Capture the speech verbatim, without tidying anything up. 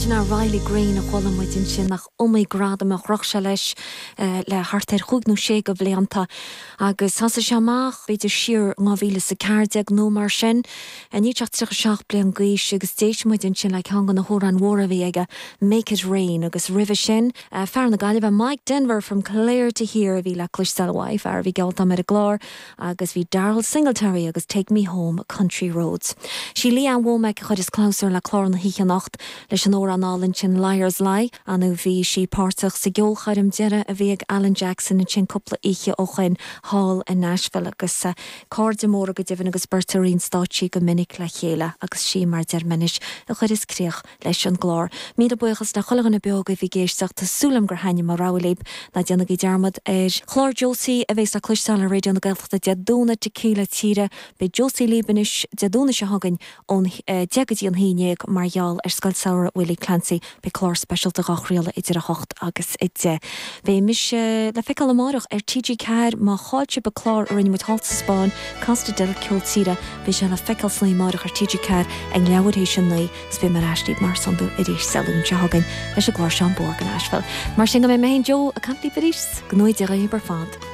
Sin é Riley Green a chuala muid ansin nach iomaí gradam a chroch sé leis eh, le thart ar chúig nó sé de bhlianta agus thosaigh sé amach b'fhéidir siar dhá mhíle is a ceathair déag nó mar sin níl sé ach tríocha seacht bliain d'aois agus d'éist muid ansin le ceann de na hamhráin mhóra a bhí aige Make It Rain agus roimhe sin eh, fear na Gaillimhe Mike Denver from Clare to Here a bhí le cloisteáil uaidh fear a bhí geallta ar an gclár agus bhí Daryle Singletary agus Take Me Home Country Roads. Sí Lee Ann Womack a chuireas clabhsúr le clár na hoíche anocht leis an amhrán álainn sin Liars Lie ann bhí sí páirteach sa gceolchoirm deiridh a bhí ag Alan Jackson ansin cúpla oíche ó shin thall in Nashville agus uh, cairde móra go deimhin agus beirt ar an stáitse go minic le chéile agus sí mar deirmenis a chuireas críoch leis an gclár. Míle buíochas le chuile dhuine beo a bhí ag éisteacht tá súil agam gur thaitnigh mo rogha libh ná déanaigí dearmad ar chlár Josie a bheas le cloisteáil ar Raidió na Gaeltachta Dé Domhnaigh Tequila Tíre beidh Josie libh anois Dé Domhnaigh seo chugainn ón eh, deich go dtí an haon déag mar gheall ar Scoil Samhraidh Willie Clancy beidh clár speisialta á chraoladh idir a hocht agus a deich. Beidh mise le feiceáil amárach ar TG Ceathair má chaill sibh an clár a rinne muid thall sa Spáinn Costa del Ceol Tíre beidh sé le feiceáil san amárach ar TG Ceathair ag leathuair théis a naoi 's beidh mé ar ais libh mar san arís Dé Luain seo chugainn leis an gclár Seán Bór go Nashville. Mar sin go mbeidh mé Joe ag caint libh arís go ngnóthaí Dia daoibh ar fad.